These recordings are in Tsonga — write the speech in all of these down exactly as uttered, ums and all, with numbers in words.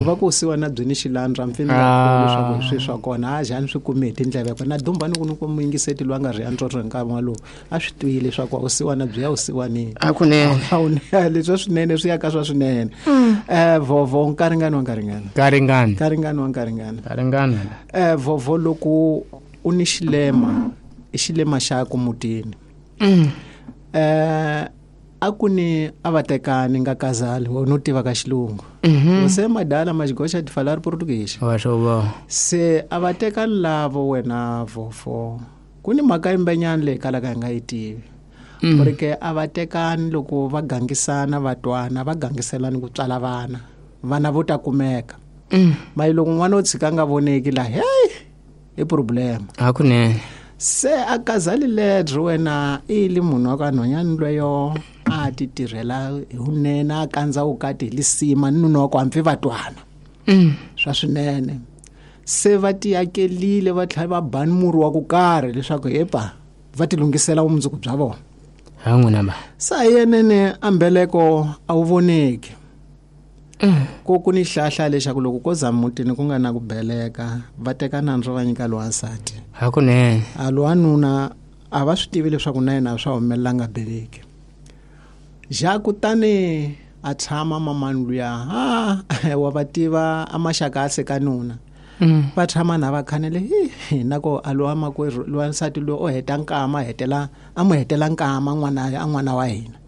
Va ku siwana byi ni xilandra mfini la leswaku swi swa kona a jani swi kume hi tindleve kona dumba ni ku ni ku muyingiseti lwa nga ri andro nkarhi walowo a swi twile leswaku a siwana byi ya u siwanini a kunene a wu leswi swinene swi ya ka swa swinene eh vovo nkaringani wa nkaringani nkaringani nkaringani wa nkaringani nkaringani eh vovo loko u ni xilema i xilema xa ku mutini eh a ku ni a va tekani nga kazali wo no tiva ka xilungu se madala maxigoxa ti falar português wa swo se a va tekani lavo wena vofo ku ni mhaka yimbenyana leyi kalaka hi nga yi tivi porque a va tekani loko va gangisana va twana va gangiselani ku tswala vana vana vo ta kumeka mayi loko n'wana o tshika nga voneki la hey i problem a kunene se a kazali ledro wena i li munhu wa ka nhwanyana lweyo a ti tirhela hi vunene a kandza vukati hi lisima ni nuna wa ku hampfi va twana swa swinene se va ti akelile va tlhela va bani murhi wa ku karhi leswaku hepa va ti lunghisela vumundzuku bya vona ha n'wina ba sa yenene a mbeleko a wu voneki ko ku ni hlahla lexaku loko ko za mutini ku nga na ku beleka va teka nandzu va nyika lowansati ha kunene a lowanuna a va swi tivi leswaku na yena swa humelela nga beleki ja kutani a tshama mamani luya ha wa va tiva a maxaka a seka nuna va tshama na va khanele hi na ko a lowa makwerhu lowansati loyi o heta nkama hetela a mu hetela nkama n'wana a n'wana wa hina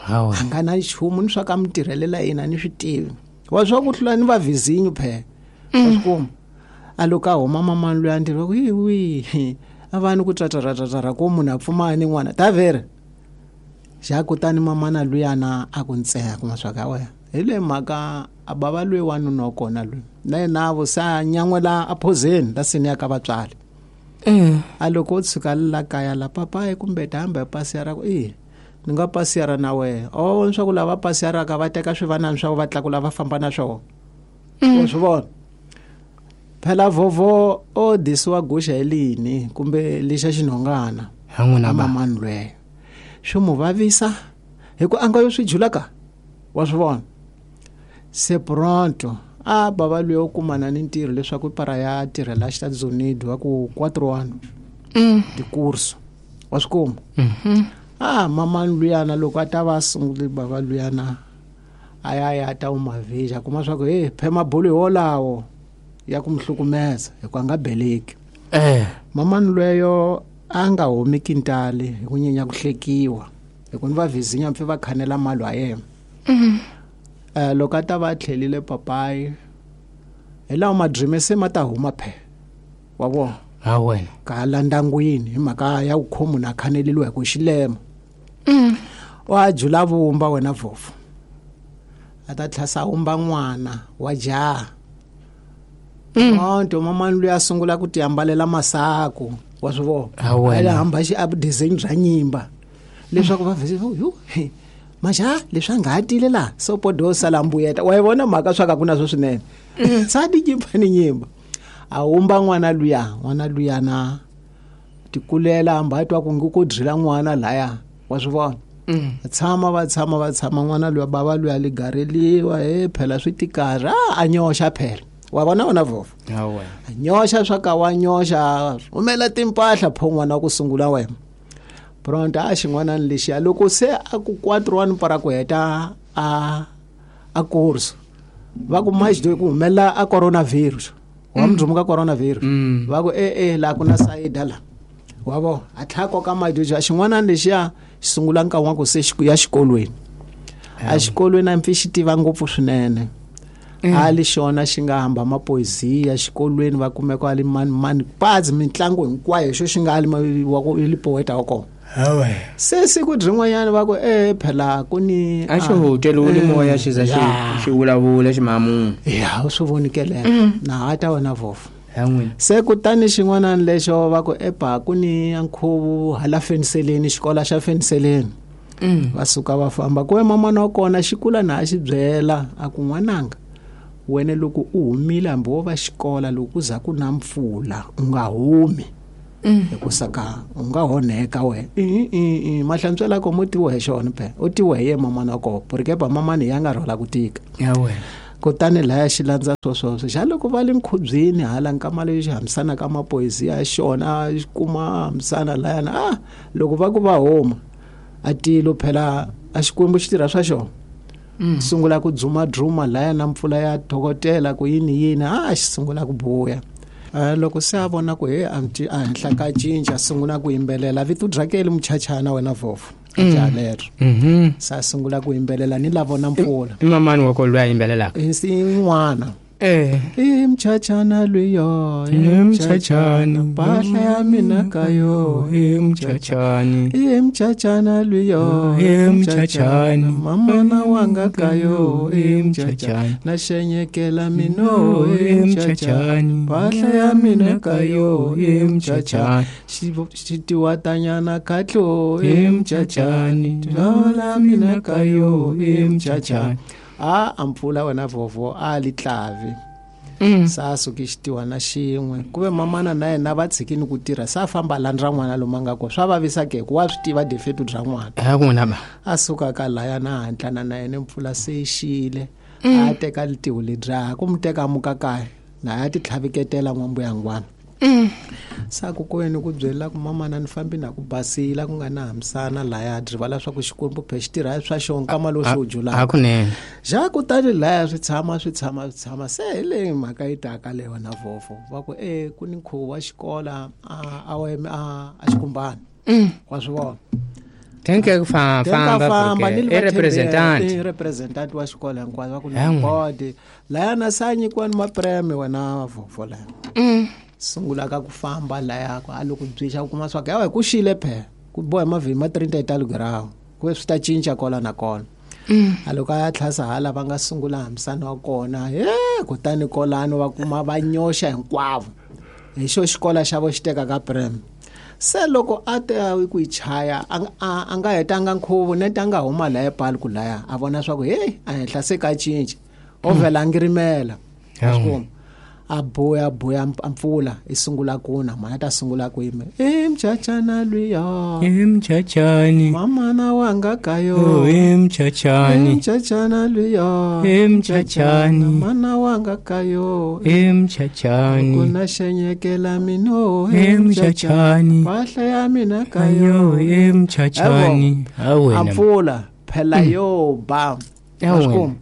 hawa a nga na nchumu ni swa ka mi tirhelela yena ni swi tivi wa swa ku hlula ni va vizinyo phela wa swi kuma a loko a huma mamani luya ntirho wa ku hi wihi a va ni ku trataratatara ko munhu a pfumaya ni n'wana ta vere xa kutani mamana luyana a ku ntseha kuma swa ka wena hi le mhaka a bava loyi wanuna wa kona loyi na yena vo se a nyan'wela a phozeni la seni ya ka vatswari a loko o tshuka la kaya la papayi kumbe ta hamba hi pasi ya ra ku i ni nga pasiyara na wena o swa ku lava pasiyaraka va teka swivanani swa ku va tlakula va famba na swona wa swi vona phela vovo o disiwa guxa hi lini kumbe lexa xinhongana ha n'wina ba mamani lweyo swi mu vavisa hi ku a nga yo swi jula ka wa swi vona se pronto a bava lweyo u kumana ni ntirho leswaku para ya tirhela Estados Unidos wa ku quatro ano tikurso wa swi kuma ah mamani luyana loko a ta va sungule bava luyana a ya ya ta umavija kuma swa ku hey phema bolo hi wolawo ya ku mhlukumeza hi ku a nga beleki eh mamani lweyo a nga humi kintali hi ku nyenya ku hlekiwa hi ku ni va vizinya mpfi va khanela mali wa yena eh loko a ta va tlhelile papayi hi lawa madrime se ma ta huma phe wa vona ha wena ka la ndangwini hi mhaka ya ku khomu na khaneleliwa hi ku xilema wa jula vumba wena vovo a ta tlhasa wumba n'wana wa jaha onto mamani luya a sungula ku ti ambalela masaku wa swi vona Ha wena. a hamba xi a design bya nyimba leswaku va vhese yu maja leswi a nga ha tile laha so podo sala mbuyeta wa yi vona mhaka swa ka ku na swo swinene sa ti nyimba ni nyimba a wumba n'wana luya n'wana luyana tikulela hamba a twa ku ngi ku drila n'wana laya wa swi vona tshama va tshama va tshama n'wana luya bava luya li gareliwa he phela swi tikarhi a a nyoxa phela wa vona wena vovo ha wena a nyoxa swa ka wa nyoxa rhumela timpahla pho n'wana wa ku sungula wena pronto a xin'wanani lexiya loko se a ku quatro one para ku heta a a course va ku maxi ku humelela a coronavirus wa mudzumu ka coronavirus va ku e e laha ku na sayida la wa vo a tlhela koka madoja xin'wanani lexiya xi sungula nkarhi wa ku se xi ya xikolweni a xikolweni a mpfi xi tiva ngopfu swinene a li xona xi nga hamba mapoesia xikolweni va kumeka a li mani mani pazi mitlangu hinkwayo xo xi nga ali wa ku li poeta wa kona ha wena se siku rin'wanyana va ku e phela ku ni a xi hoteliwile moya xi za xi xi vulavula ximamunhu ya u swi vonikeleka na ha ta wena vovo ha n'wina se kutani xin'wanani lexo va ku epa ku ni nkhuvo hala feniseleni xikolo xa feniseleni va suka va famba ku mamana wa kona xi kula na a xi byela a ku n'wananga wena loko u humile hambi wo va xikola loko ku za ku na mpfula u nga humi hikusa ka u nga honeka wena i i i mahlantswela ko mo tiwa hi xona phela u tiwa hi ye mamana wa kona porque pa mamani ya nga rhwala ku tika ha wena Kutani laya xi landza swoswoswo xa loko va le nkhubyeni hala nkama leyi xi hambisana ka mapoyisi ya xona xi kuma hambisana layana ah loko va ku va huma a tilo phela a Xikwembu xi tirha swa xona. Mm. Sungula ku dzuma dzuma laya na mpfula ya thokotela ku yini yini a xi sungula ku buya. Loko se a vona ku he a henhla ka cinca sungula ku yimbelela vito drakeli muchachana wena vovo jalero. Mhm. Sa sungula ku yimbelela ni lavo na mpfula. I mamani wa ko loyi a yimbelelaka? I n'wana. Eh. I mchachana luyo, i mchachana mpahla ya mina kayo, i mchachani, i mchachana luyo, i mchachani mamana wanga kayo, i mchachani na shenyekela mino, i mchachani mpahla ya mina kayo, i mchachani xitiwatanyana katlo, i mchachani lola mina kayo, i mchachani. A a mpfula wena vovo a li tlavi. Mm. Sa suki xitiwa na xin'we ku ve mamana na yena va tshikini ku tirha sa famba landza n'wana lomu a nga kona swa vavisa ke ku wa swi tiva defeto bya n'wana a ku na ba a suka ka laya na hantlana na yena mpfula se yi xile a teka litiho ledya ku mu teka muka kaya na ya ti tlhaviketela n'wambuyangwana. Mm. Sa ku kweni ku byela ku mamana ni fambi na ku basila ku nga na hambisana laya rivala swa ku Xikwembu phe xi tirha swa xona nkama lowu xi wu julaka. A kunene. Ja kutani laya swi tshama swi tshama swi tshama se hi leyi mhaka yi taka le wena vovo va ku e ku ni nkhuvo wa xikola a a a Xikumbana. Mm. Wa swi vona. Tenke ku famba famba i representant i representant wa xikolo hinkwaswo va ku ni board laya na sa nyikiwa ni mapreme wena vovo laya. Mm. Sungula ka ku famba laya ku a loko byisha ku kuma swa ku yawe ku xile phe ku boha mavhimi ma thirty italigrawu ku swi ta cinca kola na kona. Mm. A loko a ya tlhasa hala va nga sungula hambisana wa kona he kutani kolano va kuma va nyoxa hinkwavo hi xo xikola xa vo xi teka ka prem. Se loko a te ku yi chaya a nga hetanga nkhuvo nete a nga huma laya pali ku laya a vona swa ku hey a henhla se ka cinca o vhela a ngirimela. Mm. A boya boya mpfula i sungula kuna mana ta sungula ku yime i mchachana luya i mchachani mamana wanga kayo i mchachani mchachana luya i mchachani mana wanga kayo i mchachani kuna shenyekela mino i mchachani mpahla ya mina kayo i mchachani. A mpfula phela yo ba a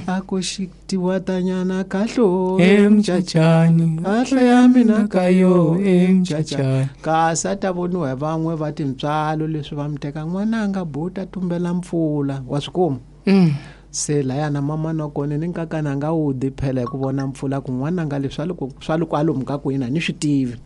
a ku xitiwatanyana kahlo i mchachani mpahla ya mina kayo i mchachani kasi a ta voniwa hi van'we va tintswalo leswi va mi teka n'wananga buta tumbela mpfula wa swi kuma. Mm. Se laya na mamana wa kona ni nkakana a nga wu di phela hi ku vona mpfula ku n'wananga leswi swa loko swa loko alomu ka kwini a ni swi tivi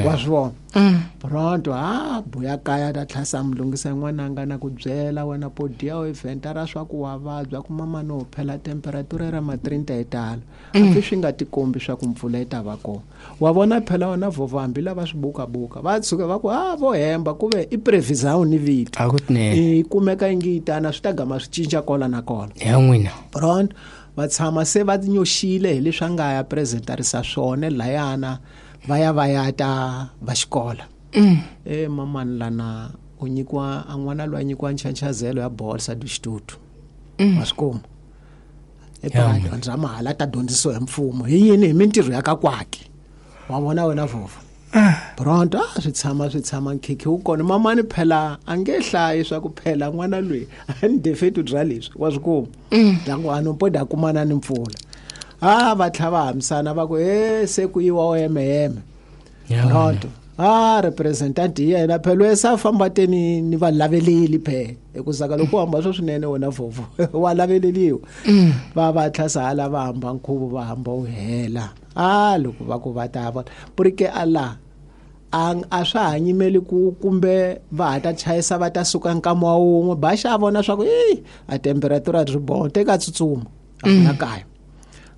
wa swi vona. Mm. Pronto a buya kaya ta tlhasa mi lunghisa n'wananga na ku byela wena podiya o event ra swa ku wa vabya ku mamana o phela temperature ra ma thirty italo hambi swi nga tikombi swa ku mpfula yi ta va kona wa vona phela wena vovo hambi lava swi bukabuka va tshuka va ku a vo hemba ku ve i prevision ni vito a ku tinene i kumeka yi ngi yi tana swi ta gama swi cinca kola na kola ya n'wina. Pronto va tshama se va nyoxile hi leswi a nga ya presentarisa swona layana va ya va ya ta va xikola. Mm. E mamani lana u nyikiwa a n'wana loyi a nyikiwa nchancazelo ya bolsa du xitutu. Mm. Wa swi kuma e dyondza mahala ta dyondzisiwa hi mfumo hi yini hi mintirho ya ka kwaki wa vona wena vovo. Pronto a swi tshama swi tshama nkhikhi wu kona mamani phela a nge hlayi swa ku phela n'wana loyi a ni defeto bya leswi wa swi kuma dangu a no poda kumana ni mpfula a va tlha va hambisana va ku he se ku yiwa o yemeyeme. Pronto a representant hi yena phela sa famba teni ni va laveleli phe hikuza loko u hamba swo swinene wena vovo wa laveleliwa. Va va tlhasa hala va hamba nkhuvo va hamba wu hela a loko va ku va ta vona purike a la a a swa ha nyimeli ku kumbe va ha ta chayisa va ta suka nkama wa wun'we ba xa vona swa ku e a temperature ri bon teka tsutsuma a na kaya.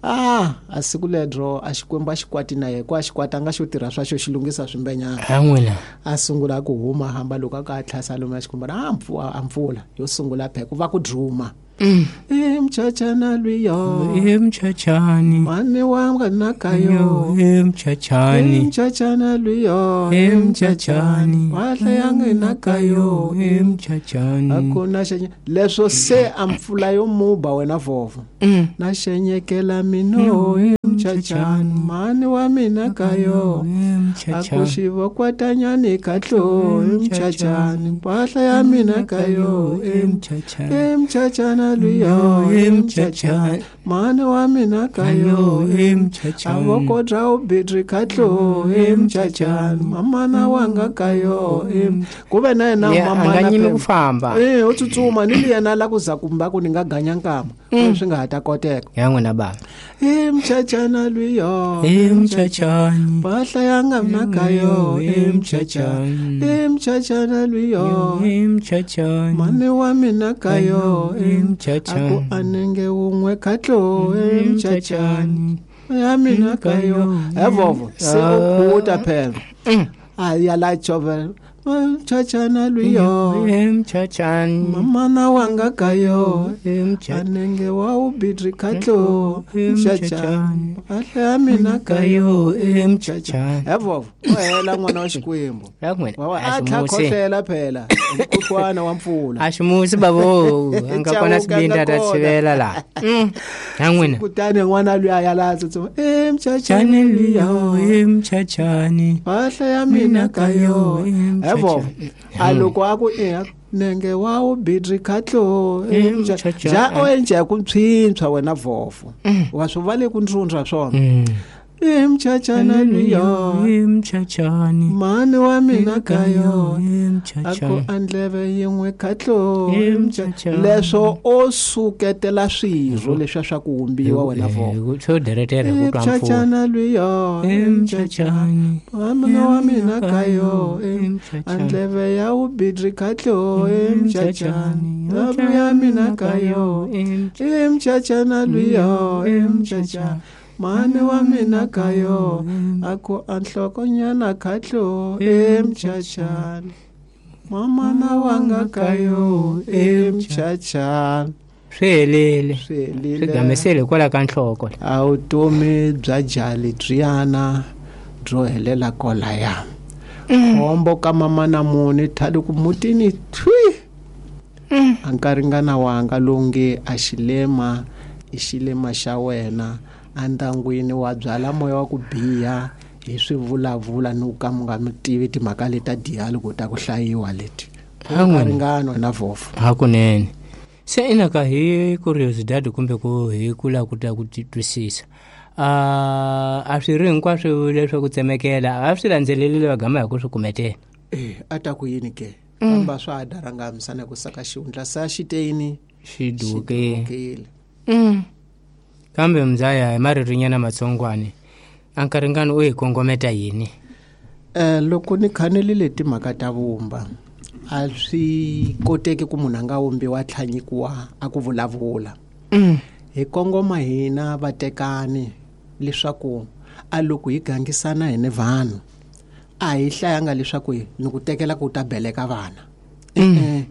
Ah a siku ledro a Xikwembu a xikwati na yena ku a xikwata nga xo tirha swa xo xi lunghisa swimbenyana a n'wina a sungula ku huma hamba loko a ka tlhasa lomu ya Xikwembu a mpfula a mpfula yo sungula phe ku va ku druma. Emchachana lwiyo emchachani mane wanga nakayo emchachani emchachana lwiyo emchachani wahla yange nakayo emchachani akuna xenye leswo se ampfula yo muba wena vovo na xenyekela mino emchachani mane wa mina kayo akuxivo kwatanyani katlo emchachani wahla ya mina kayo emchachani emchachana lwiyo emchachani mane wa mina kayo emchachani avokodra ubitri katlo emchachani mamana wanga kayo kuve na yena mamana a nga nyimi ku famba eh u tsutsuma ni li yena la ku za kumba ku ni nga ganya nkama swi nga ha ta koteka ya n'wina baba emchachana lwiyo emchachani mpahla ya nga mna kayo emchachani emchachana lwiyo emchachani mane wa mina kayo emchachani aku anenge wun'we katlo emchachani ya mina kayo evovo se u khuta phela a ya la chovela mchachana lwiyo emchachani mamana wanga kayo anenge wa ubitri katlo emchachani ahla ya mina kayo emchachani evovo o hela n'wana wa Xikwembu a tlha khohlela phela mkhuhlwana wa mpfula a ximusi babo a nga kona sibindi a ta tshivela laha ya n'wina kutani n'wana luya ya la tsutsuma emchachani lwiyo emchachani mpahla ya mina kayo evovo a loko a ku e nenge wa ubitri katlo ja o endla ku mpswintshwa wena vovo wa swi va le ku ndzundza swona emchachana lwiyo emchachani mane wa mina kayo emchachani aku andleve yin'we katlo emchachani leswo o suketela swirho leswiya swa ku humbiwa wena vovo swo deretere ku twa mpfula emchachana lwiyo emchachani mane wa mina kayo andleve ya ubitri katlo emchachani ya mina kayo emchachana lwiyo emchachani mane wa mina kayo aku anhlokonyana katlo emchachani mamana wanga kayo emchachani swi helile swi helile swi gamesele kwala ka nhloko a vutomi bya jali byiyana byo helela kolaya khombo ka mamana muni thali ku mutini thwi a nkaringana wanga longe a xilema i xilema xa wena andangwini wa byala moya wa ku biha hi swivulavula ni ku ka mi nga mi tivi timhaka leta diyali ku ta ku hlayiwa leti ringano na vovo hakunene se inaka hi curiosity kumbe ku hi kula ku ta ku twisisa a a swi ri hinkwaswo leswaku tsemekela a swi landzelelile va gama hi ku swi kumetela eh a ta ku yini ke kamba swa ha daranga misana ku saka xihundla sa xiteni xi dukile kambe mzaya hi maririnyana matsongwani a nkaringano u hi kongometa yini eh loko ni khanelile timhaka ta vumba a swi koteki ku munhu a nga wumbiwa tlhanyikiwa a ku vulavula hi kongoma hina vatekani leswaku a loko hi gangisana hi ni vanhu a hi hlayanga leswaku ni ku tekela ku ta beleka vana e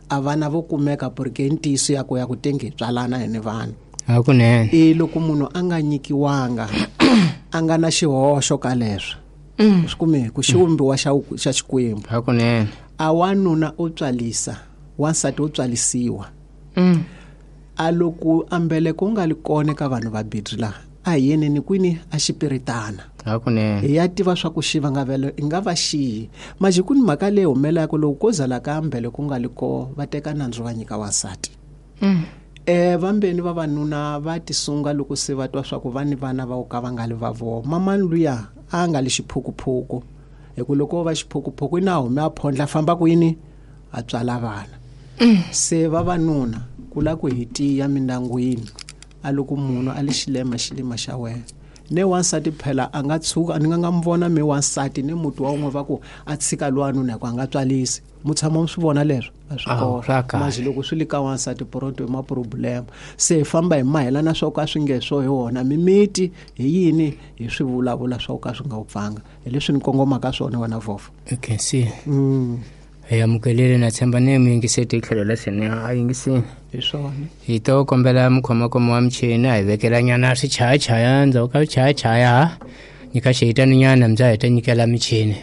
a vana vo kumeka porque ntiyiso ya ku ya ku tenge tswalana hi ni vanhu hakunene e loko munhu a nga nyikiwanga a nga na xihoxo ka leswo swi kume ku xiwumbiwa xa xa Xikwembu hakunene a wanuna u tswalisa wansati u tswalisiwa a loko ambeleko u nga li kona ka vanhu va bidri laha a hi yeneni kwini a xipiritana hakunene hi ya tiva swa ku xi vangavelo i nga va xiyi maji ku ni mhaka leyi humelaka loko ko zala ka ambeleko u nga li ko va teka nandzu va nyika wansati eh vambeni vavanuna va tisunga loko se va twa swa ku va ni vana va ka va nga li va vona mamani luya a nga li xiphukuphuku hi ku loko va xiphukuphuku i na hume a phondla famba kwini a tswala vana se vavanuna ku la ku hi tiya mindangwini a loko munhu a li xilema xilema xa wena ne wansati phela a nga tshuka ni nga nga mi vona mi wansati ni muti wa un'we va ku a tshika lwanuna hi ku a nga tswalisi mu tshama mu swi vona leswo a swi kona maji loko swi li ka wansati poronto i ma problem se hi famba hi mahelana swo ka swi nge swo hi wona mimiti hi yini hi swi vulavula swo ka swi nga wu pfanga hi leswi ni kongomaka swona wena vovo okay see mm. Hi amukelile na tshemba ni muyingiseti hi tlhelo la seni a yingisini. Hi swona. Hi to kombela mukhomakhoma wa michini a hi vekelanyana swichayachaya ndzhaku ka swichayachaya nyika xihitaninyana mbya hi ta nyikela michini.